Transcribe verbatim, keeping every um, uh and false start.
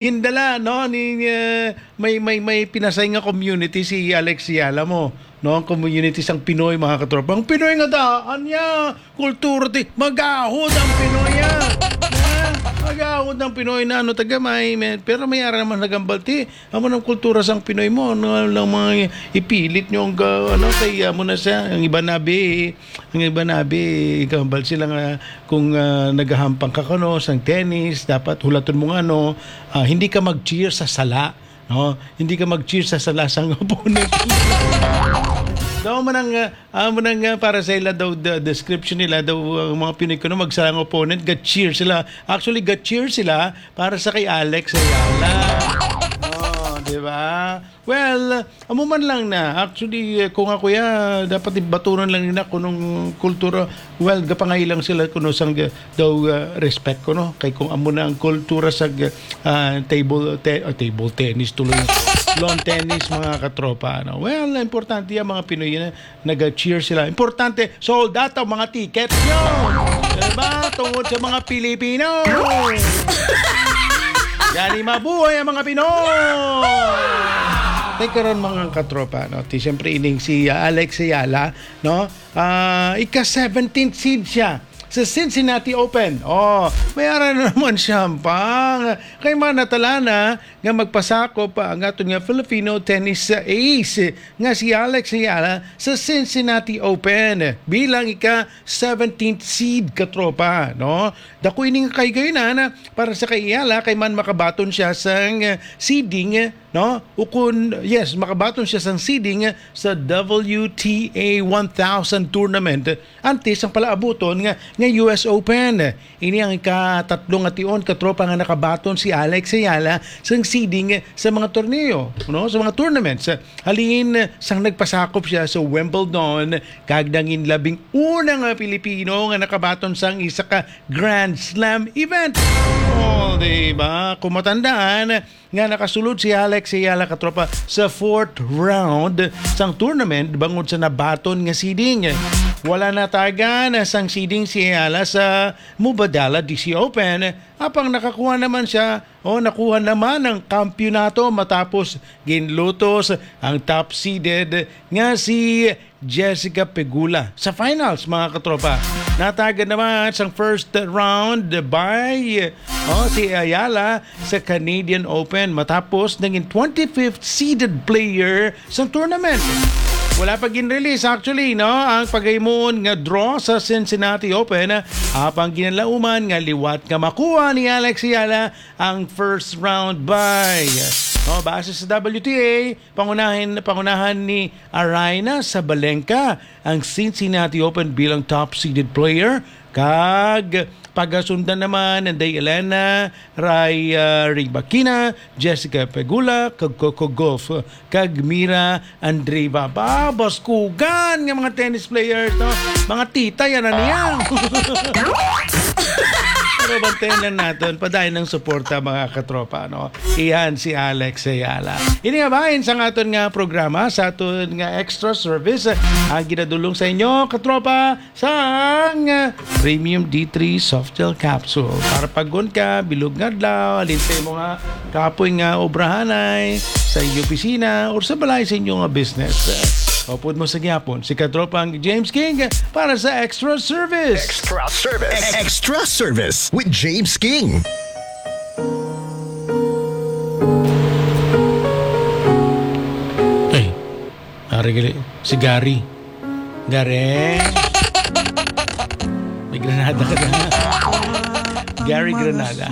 Hindala, no, ni, eh, may, may, may pinasay nga community si Alex Ayala mo, no? Ang community sang Pinoy, mga katropa. Ang Pinoy nga daan niya, kultura ti, magahod ang Pinoy, ah. Ha? Magahod ang Pinoy na, ano, taga may, may, pero may ara naman nagambalti. Amo nang kultura sang Pinoy mo, ano, lang mga ipilit nyo ang, ah, ano, kay, amo na siya, ang iba nabi, ang iba nabi, ikambal sila nga, kung, ah, nagahampang ka, kuno, sang tennis, dapat hulaton mo nga, no, ah, hindi ka mag-cheer sa sala, no? Hindi ka mag-cheer sa sala sang opponent. Daw man ang, ah, ah, man ang, ah, para sa ila daw, the description nila daw, ang mga Pinoy kuno magsala ang opponent, ga-cheer sila. Actually, ga-cheer sila para sa kay Alex Ayala. Oh, di ba? Well, amo man lang na. Actually, eh, kung ako ya, dapat batunon lang nila kung anong kultura. Well, gapangailang sila kuno sang, eh, daw, eh, respect kuno. Kay kung amo na ang kultura sa, ah, table te-, ah, table tennis tuloy. Lawn tennis, mga katropa, ano. Well, importante yan, mga Pinoy na nag-cheer sila. Importante, sold out ang mga tickets nyo. Diba? Tungod sa mga Pilipino. Gani mabuhay ang mga Pinoy! Tay karon, mga katropa, no? Ti, siyempre, ining si, ah, Alex Ayala, no? Ah, ika-seventeenth seed siya sa Cincinnati Open. Oh, may ara na naman siya, pang. Kay man natala na nga magpasakop pa ang aton nga Filipino tennis ace nga si Alex Ayala sa Cincinnati Open bilang ika-seventeenth seed, katropa, no? Dako ini nga kahigayunan para sa kay Ayala kay man makabaton siya sang seeding, no? Ukon, yes, makabaton siya sang seeding sa W T A one thousand tournament antes ang palaabuton nga, nga U S Open. Ini ang ikatatlo nga tion, katropa, nga nakabaton si Alex Ayala sang seeding sa mga torneo, no? Sa mga tournaments. Halin sang nagpasakop siya sa Wimbledon, kag nangin labing una nga Pilipino nga nakabaton sang isa ka Grand Slam event. Oh, di ba? Kung matandaan, nga nakasulod si Alex Ayala, katropa, sa fourth round sang tournament bangod sa nabaton nga seeding. Wala natagan sang seeding si Ayala sa Mubadala D C Open, apang nakakuha naman siya, o nakuha naman ang kampiyonato matapos ginlutos ang top seeded nga si Jessica Pegula sa finals, mga katropa. Natagan naman sang first round by, oh, si Ayala sa Canadian Open matapos naging twenty-fifth seeded player sa tournament. Wala pa gin-release actually, no, ang pagahimon nga draw sa Cincinnati Open, apang ginalauman nga liwat nga makuha ni Alex Ayala ang first round bye. No, base sa W T A, pangunahin, pangunahan ni Aryna Sabalenka ang Cincinnati Open bilang top seeded player, kag pagasundan naman ni Elena Ray, ah, Rybakina, Jessica Pegula, kag Coco Gauff, kag Mira Andreeva. Ba, baskugan nga mga tennis players, no? Mga tita, yan na niya. Pero bantayan lang naton, padayon ang suporta, mga katropa, no? Iyan si Alex Ayala. Ini nga bahin sa aton nga programa, sa aton nga extra service, ang ginadulong sa inyo, katropa, sang Premium D three Soft Gel Capsule. Para pag-on ka, bilog nga adlaw, halin sa imo nga kapoy nga obrahanay, sa inyo opisina, or sa balay sa inyo nga business. Upod mo sa gihapon, si Katropang James King para sa Extra Service. Extra Service. Extra Service with James King. Ay, ari gali, si Gary. Gary. May Granada ka na. Gary Granada.